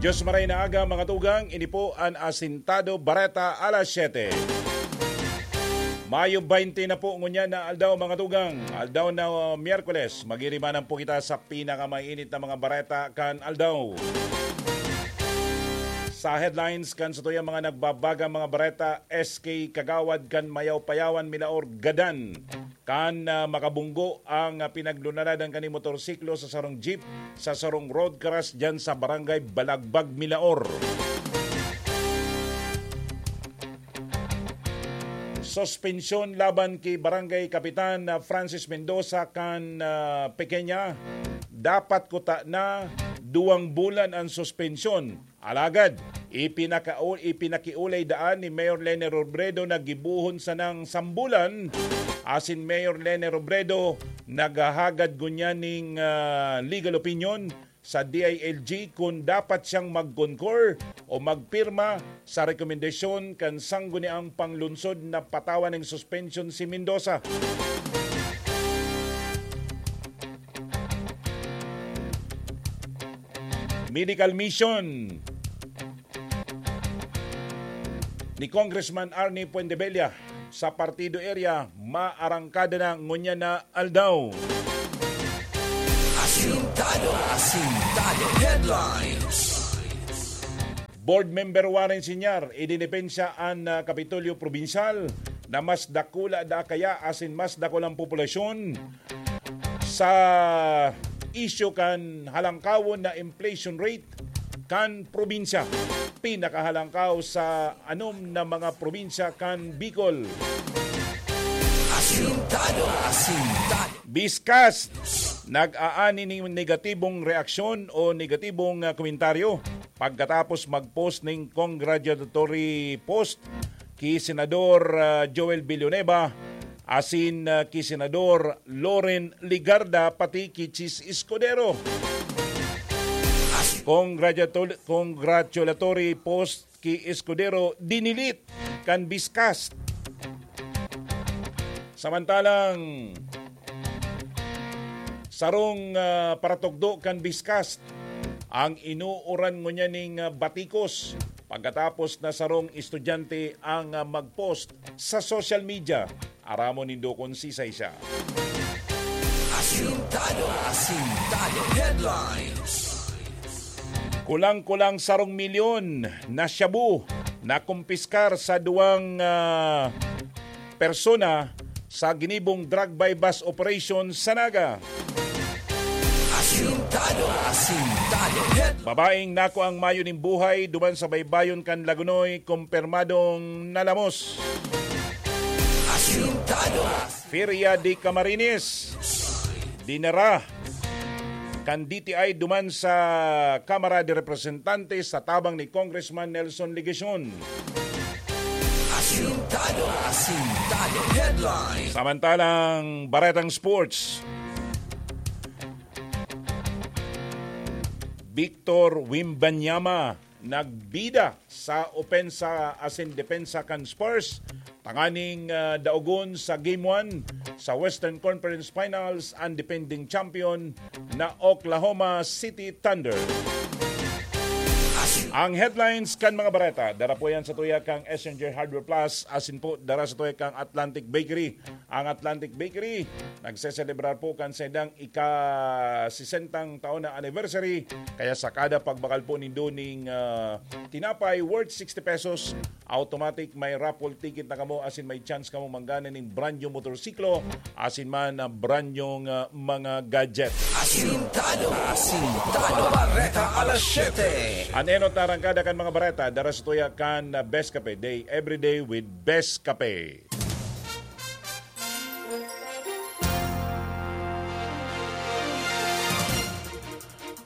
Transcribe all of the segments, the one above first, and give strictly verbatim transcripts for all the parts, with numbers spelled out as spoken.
Diyos maray na aga, mga tugang, ini po an Asintado Bareta alas siyete. Mayo baynte na po ngunyan na aldaw, mga tugang. Aldaw na, uh, Miyerkules, magirimanan po kita sa pinakamainit na mga bareta kan aldaw. Sa headlines kan satuyang mga nagbabagang mga bareta, S K Kagawad kan Mayaw-Payawan, Milaor, gadan kan, ah, makabunggo ang, ah, pinaglunaladan kan motorsiklo sa sarong jeep sa sarong road crash diyan sa Barangay Balagbag, Milaor. Suspensyon laban ki Barangay Kapitan, ah, Francis Mendoza kan, ah, Pequeña. Dapat kuta na duwang bulan ang suspensyon. Alagad, ipinakau-, ipinakiulay daan ni Mayor Leni Robredo na gibohon sanang sambulan. Asin Mayor Leni Robredo naghahagad ngunyan ning, ah, legal opinion sa D I L G kun dapat siyang mag-concur o magpirma sa rekomendasyon kan sangguniang panglungsod na patawan ning suspensyon si Mendoza. Medical mission ni Congressman Arnie Fuentebella sa Partido Area, maarangkada na ngunyan na aldaw. Asintado, Asintado Headlines. Board Member Warren Senior, idinipensya an, ah, Kapitolyo Probinsyal na mas dakula daa kaya asin mas dakulang populasyon sa isyu kan halangkawon na inflation rate kan probinsya. Pinakahalangkaw sa anom na mga probinsya kan Bicol. Asintado, Asintado. Biskas, nag-aani ning negatibong reaksyon o negatibong, ah, komentaryo pagkatapos mag-post ning congratulatory post ki Senador, ah, Joel Villanueva asin, ah, ki Senador Loren Legarda pati ki Chiz Escudero. Congratulat-, congratulatory post ki Escudero dinilit kan Biskas. Samantalang sarong, ah, paratugdo kan Biskas ang inuuran ngunyan ning, ah, batikos pagkatapos na sarong estudyante ang, ah, mag-post sa social media. Aramon nindo kun sisay siya. Asintado, Asintado Headlines. Kulang-kulang sarong milyon na shabu na kumpiskar sa duwang, ah, persona sa ginibong drug buy-bust operation sa Naga. Asintado, Asintado Headlines. Babaeng nakuang mayo nin buhay duman sa baybayon kan Lagonoy, kumpirmadong nalamos. Asintado. Feria de Camarines. Dinara kan D T I duman sa Kamara de Representantes sa tabang ni Congressman Nelson Legacion. Asintado, Asintado Headlines. Samantalang Baretang Sports, Victor Wembanyama nagbida sa opensa asin depensa kan Spurs tanganing, ah, daogon sa Game one sa Western Conference Finals an defending champion na Oklahoma City Thunder. Ang headlines kan mga bareta, dara po yan sa tuya kang S N J Hardware Plus, asin po dara sa tuya kang Atlantic Bakery. Ang Atlantic Bakery nagseselebrar po kan saindang ika-sesentang taon na anniversary, kaya sa kada pagbakal po nindo ning, ah, tinapay worth sixty pesos, automatic may raffle ticket na kamo asin may chance kamo manggana ning brand new motorsiklo asin man, ah, brand new, ah, mga gadget. Asintado, Asintado Bareta alas siyete. An enot na arangkada kan mga bareta, dara sa tuya kan, ah, Best Cafe. Day every day with Best Cafe.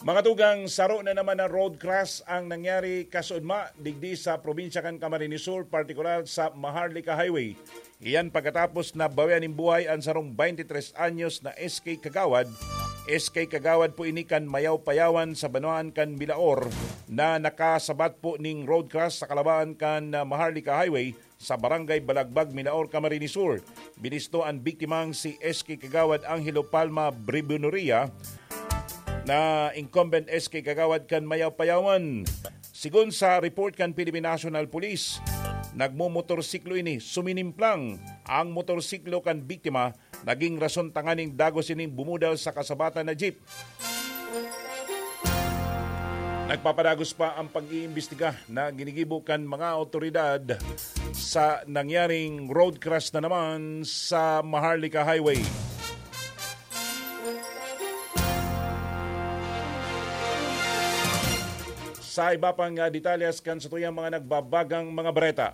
Mga tugang, saro na naman na road crash ang nangyari kasuodma digdi sa probinsya kan Camarines Sur, partikular sa Maharlika Highway. Iyan pagkatapos na bawian nin buhay an sarong twenty-three anyos na S K Kagawad. S K Kagawad po ini kan Mayaw-Payawan sa banwaan kan Milaor na nakasabat po ning road crash sa kalabaan kan, ah, Maharlika Highway sa Barangay Balagbag, Milaor, Camarines Sur. Binisto an biktimang si S K Kagawad Angelo Palma Bribonoria na incumbent S K Kagawad kan Mayaw-Payawan. Sigon sa report kan Philippine National Police, nagmomotorsiklo ini, suminimplang ang motorsiklo kan biktima, naging rason tanganing dagos ining bumudal sa kasabatan na jeep. Nagpapadagos pa ang pag-iimbestiga na ginigibo kan mga awtoridad sa nangyaring road crash na naman sa Maharlika Highway. Sa iba pang, ah, detalyes kan satuyang mga nagbabagang mga bareta,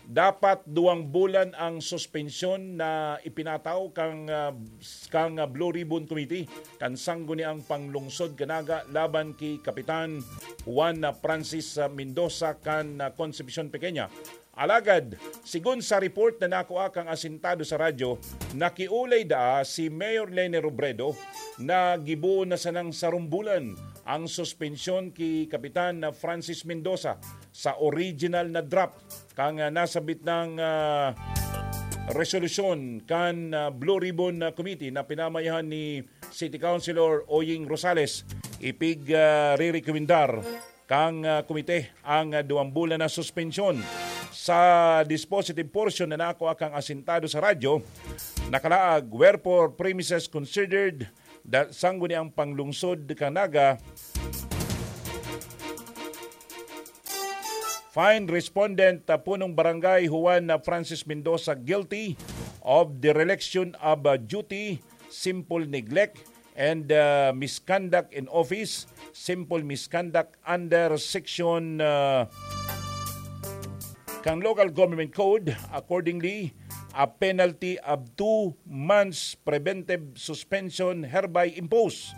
dapat duwang bulan ang suspensyon na ipinataw kang, ah, kang, ah, Blue Ribbon Committee kan Sangguniang Panglungsod kan Naga laban ki Kapitan Juan, ah, Francis, ah, Mendoza kan, ah, Concepcion Pequeña. Alagad, sigon sa report na nakua kang asintado sa radyo, nakiulay daa si Mayor Leni Robredo na gibohon na sanang sarong bulan ang suspensyon ki Kapitan na Francis Mendoza sa original na draft kan, ah, nasabit nang, ah, resolusyon kan, ah, Blue Ribbon, ah, Committee na pinamayahan ni City Councilor Oying Rosales. Ipig, ah, rirekomendar kang, ah, komite ang, ah, duwang bulan na suspensyon. Sa dispositive portion na nakua kang asintado sa radyo, nakalaag, wherefore premises considered, da-, Sangguniang Panglungsod kan Naga, find respondent, ah, punong barangay Juan, ah, Francis Mendoza guilty of dereliction of, ah, duty, simple neglect, and, ah, misconduct in office, simple misconduct under section, ah, kan Local Government Code. Accordingly, a penalty of two months preventive suspension hereby imposed.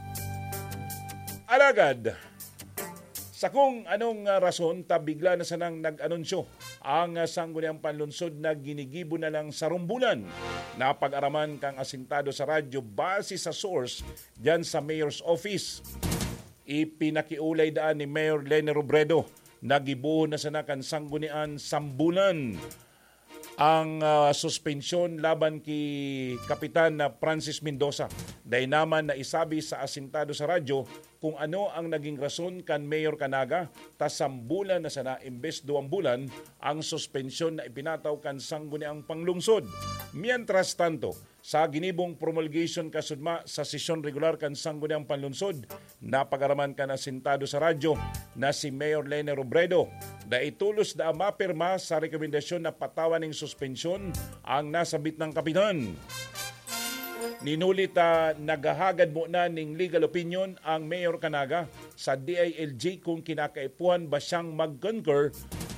Alagad, sa kung anong, ah, rason ta bigla na sanang nag-anunsyo ang, ah, Sangguniang Panlungsod na ginigibo na lang sa rumbulan na pag-araman kang asintado sa radyo base sa source diyan sa Mayor's Office. Ipinakiulay daan ni Mayor Leni Robredo na gibohon na sana kan Sanggunian sambulan ang, ah, suspensyon laban ki Kapitan na Francis Mendoza. Dai naman naisabi sa asintado sa radyo kung ano ang naging rason kan Mayor kan Naga, ta sambulan na sana imbes duwang bulan ang suspensyon na ipinataw kan Sangguniang Panglungsod. Mientras tanto, sa ginibong promulgation kasudma sa sesyon regular kan Sangguniang Panlungsod, napag-araman kan asintado sa radyo na si Mayor Leni Robredo. Dai tolos daa mapirma sa rekomendasyon na patawan ning suspensyon ang nasabit nang kapitan. Ninuli ta naghahagad mo na ning legal opinion ang Mayor kan Naga sa D I L G kung kinakaipuhan ba siyang mag-concur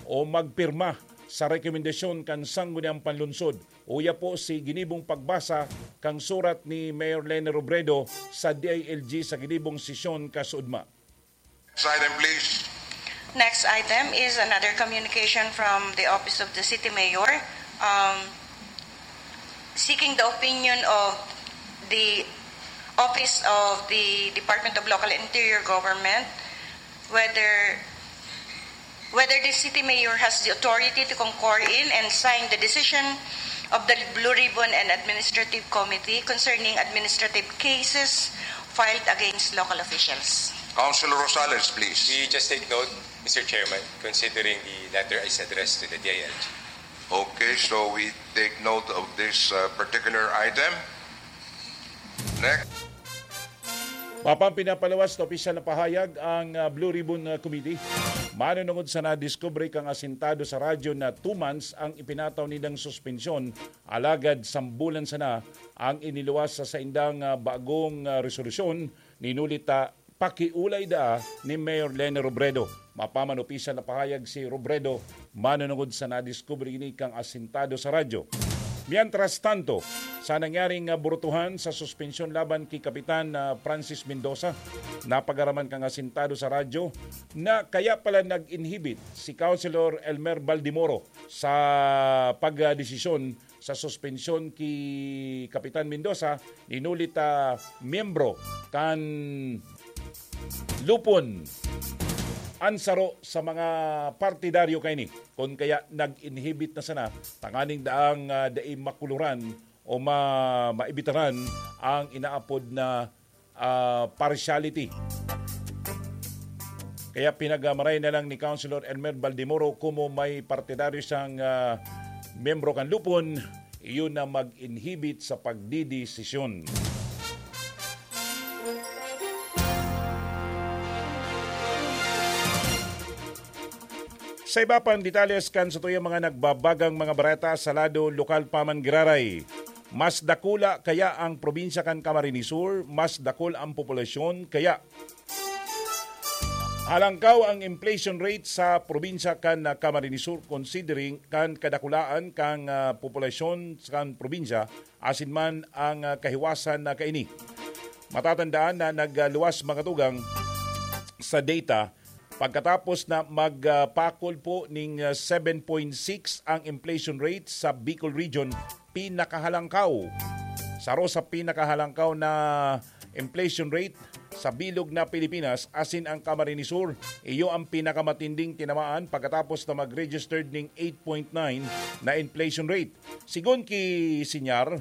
o magpirma sa rekomendasyon kan Sangguniang Panlungsod. Uya po si ginibong pagbasa kan surat ni Mayor Leni Robredo sa D I L G sa ginibong sesyon kasudma. Next item, please. Next item is another communication from the Office of the City Mayor, um, seeking the opinion of the Office of the Department of Local and Interior Government, whether whether the city mayor has the authority to concur in and sign the decision of the Blue Ribbon and Administrative Committee concerning administrative cases filed against local officials. Councilor Rosales, please. We just take note, Mister Chairman, considering the letter is addressed to the D I L G. Okay, so we take note of this, uh, particular item. Next. Mapang pinapalawas na opisyal na pahayag ang, ah, Blue Ribbon, ah, Committee. Manunungod sa nadiskubre kang asintado sa radyo na two months ang ipinataw nindang suspensyon, alagad sambulan sana ang iniluwas sa saindang, ah, bagong, ah, resolusyon, ninuli ta pakiulay daa ni Mayor Leni Robredo. Mapaman opisyal na pahayag si Robredo manunungod sa nadiskubre ini kang asintado sa radyo. Mientras tanto, sa nangyaring, ah, burutuhan sa suspensyon laban ki Kapitan, ah, Francis Mendoza, napag-araman kang asintado sa radyo na kaya pala nag-inhibit si Councilor Elmer Baldimoro sa pagdesisyon sa suspensyon ki Kapitan Mendoza, ninuli ta miyembro kan Lupon an saro sa mga partidaryo kaini. Kun kaya nag-inhibit na sana tanganing daang, ah, dai makuluran o ma-, maibitaran ang inaapod na ah, partiality. Kaya pinagmaray na lang ni Councilor Elmer Baldemoro, komo may partidaryo siyang, ah, miyembro kan Lupon, iyon na mag-inhibit sa pagdidesisyon. Sa iba pang detalles kan satuyang mga nagbabagang mga bareta sa lado lokal pa man giraray, mas dakula kaya ang probinsya kan Camarines Sur, mas dakul ang populasyon, kaya halangkaw ang inflation rate sa probinsya kan, ah, Camarines Sur, considering kan kadakulaan kan, ah, populasyon kan probinsya asin man ang, ah, kahiwasan na kaini. Matatandaan na nagluwas mga tugang sa data pagkatapos na magpakol po ning, ah, seven point six ang inflation rate sa Bicol Region, pinakahalangkaw. Saro sa pinakahalangkaw na inflation rate sa bilog na Pilipinas, asin ang Camarines Sur, iyo ang pinakamatinding tinamaan pagkatapos na mag-registered ning eight point nine na inflation rate. Sigon ki Sinyar,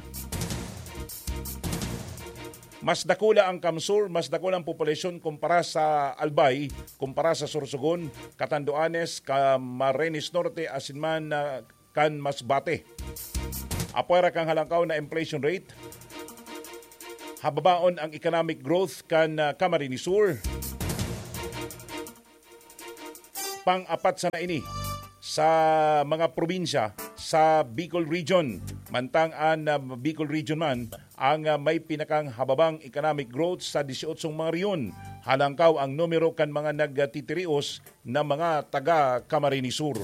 mas dakula ang CamSur, mas dakula ang populasyon kumpara sa Albay, kumpara sa Sorsogon, Catanduanes, Camarines Norte, asin man, ah, kan Masbate. Apwera kan halangkaw na inflation rate, hababaon ang economic growth kan, ah, Camarines Sur. Pang-apat sana ini sa mga probinsya sa Bicol Region. Mantang an, ah, Bicol Region man ang, ah, may pinakang hababang economic growth sa disyotso mga rehiyon. Halangkaw ang numero kan mga nagtitirios na mga taga Camarines Sur.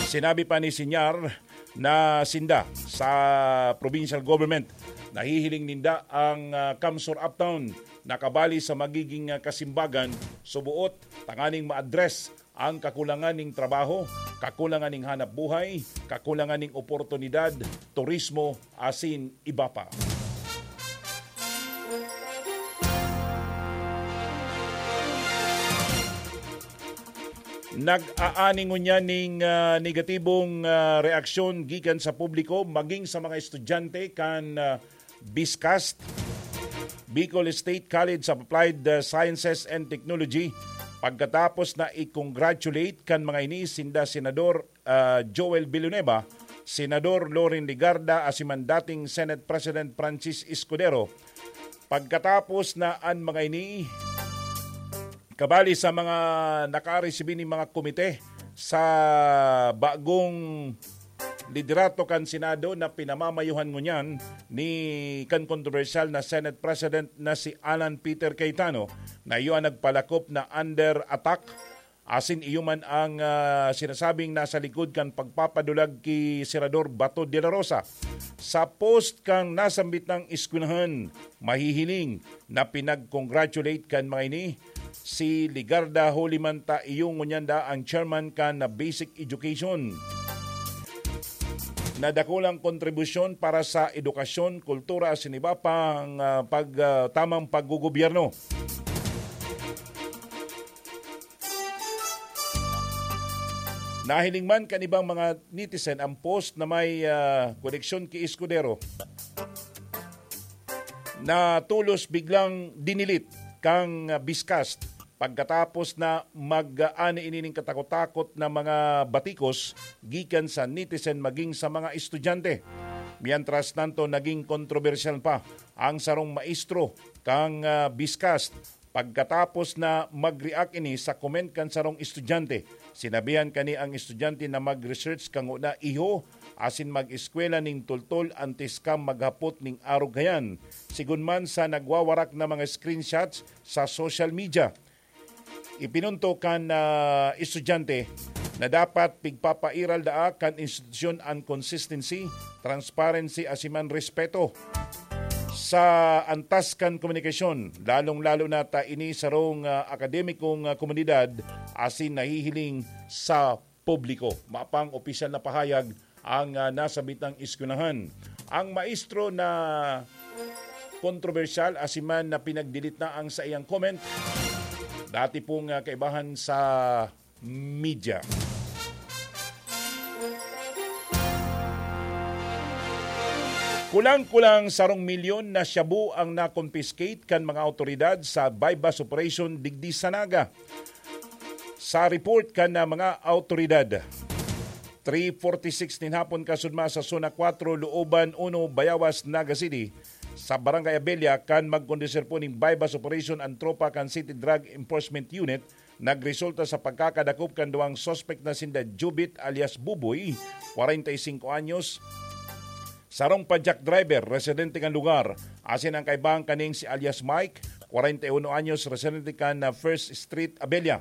Sinabi pa ni Sinyar na sinda sa provincial government, nahihiling ninda ang, ah, CamSur Uptown na kabali sa magiging, ah, kasimbagan, subuot tanganing ma-address ang kakulangan ning trabaho, kakulangan ning hanap buhay, kakulangan ning oportunidad, turismo, asin iba pa. Nag-aani ngunyan ning, ah, negatibong, ah, reaksyon gikan sa publiko, maging sa mga estudyante kan, ah, BISCAST, Bicol State College of Applied, ah, Sciences and Technology, pagkatapos na i-congratulate kan mga ini sinda Senador, ah, Joel Villanueva, Senador Loren Legarda, asin man dating Senate President Francis Escudero, pagkatapos na an mga ini kabali sa mga nakaresibi ning mga komite sa bagong liderato kan Senado na pinamamayuhan ngunyan ni kan kontrobersyal na Senate President na si Alan Peter Cayetano, na iyo an nagpalakop na under attack, asin iyo man ang, ah, sinasabing nasa likod kan pagpapadulag ki Senador Bato de la Rosa. Sa post kan nasambit nang eskwelahan, mahihiling na pinag-congratulate kan mga ini si Legarda, huli man ta iyo ngunyan da ang chairman kan na Basic Education. Na dakulang kontribusyon para sa edukasyon, kultura, asin iba pang, ah, pag, ah, tamang paggogobyerno. Nahiling man kan ibang mga netizen ang post na may, ah, koneksyon ki Escudero na tolos biglang dinelete kan, ah, BISCAST pagkatapos na mag-aani ini ning katakot-takot na mga batikos gikan sa netizen maging sa mga estudyante. Mientras tanto, naging kontrobersyal pa ang sarong maestro kan, ah, BISCAST pagkatapos na mag-react ini sa comment kan sarong estudyante. Sinabihan kani ang estudyante na mag-research kanguna, iho, asin mag-eskwela ning tultol antes ka maghapot ning arog kayan. Sigon man sa nagwawarak na mga screenshots sa social media, ipinunto kan, ah, estudyante na dapat pigpapairal daa kan institusyon an consistency, transparency, asin man respeto sa antas kan komunikasyon, lalong-lalo na ta ini sarong, ah, akademikong, ah, komunidad asin nahihiling sa publiko. Mapang opisyal na pahayag ang, ah, nasabitang eskwelahan. Ang maestro na kontrobersyal asin man na pinag-delete na ang saiyang comment, dati pong, ah, kaibahan sa media. Kulang-kulang sarong milyon na shabu ang na-confiscate kan mga awtoridad sa buy-bust operation digdi sa Naga. Sa report kan, ah, mga awtoridad, three forty-six nin hapon kasudma sa Zona four, Looban uno, Bayawas, Naga City, sa Barangay Abella, kan magkondusir po ning buy-bust operation ang tropa kan City Drug Enforcement Unit, nagresulta sa pagkakadakop kan duwang suspek na sinda Jubit alias Buboy, kwarenta y singko anyos, sarong padyak driver, residente kan lugar, asin ang kaibahan kaning si alias Mike, kwarenta y uno anyos, residente kan, ah, First Street, Abella.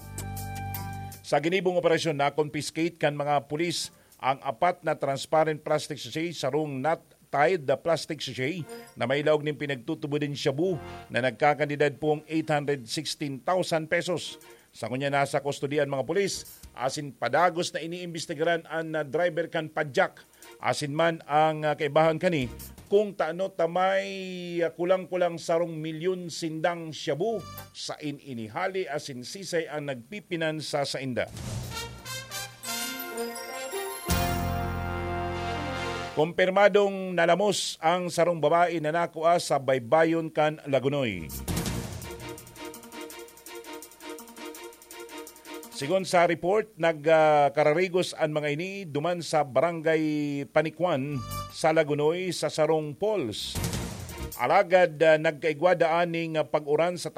Sa ginibong operasyon, na-confiscate kan mga pulis ang apat na transparent plastic sachet, sarong knot-tied na plastic sachet na may laog nin pinagtutubod nin shabu na nagkakantidad pong eight hundred sixteen thousand pesos. Sa ngunyan, nasa kustodiya an mga pulis, asin padagos na iniimbestigaran an, ah, driver kan padyak. Asin man ang, ah, kaibahan kani, kung tano ta may, ah, kulang-kulang sarong milyon sindang shabu sa in inihali asin sisay ang nagpipinansa sainda. Kumpirmadong nalamos ang sarong babae na nakua sa baybayon kan Lagonoy. Sigon sa report, nagkararigos an mga ini duman sa Barangay Panikwan sa Lagonoy sa sarong falls. Alagad, ah, nagkaigwa daan ning, ah, pag-uran sa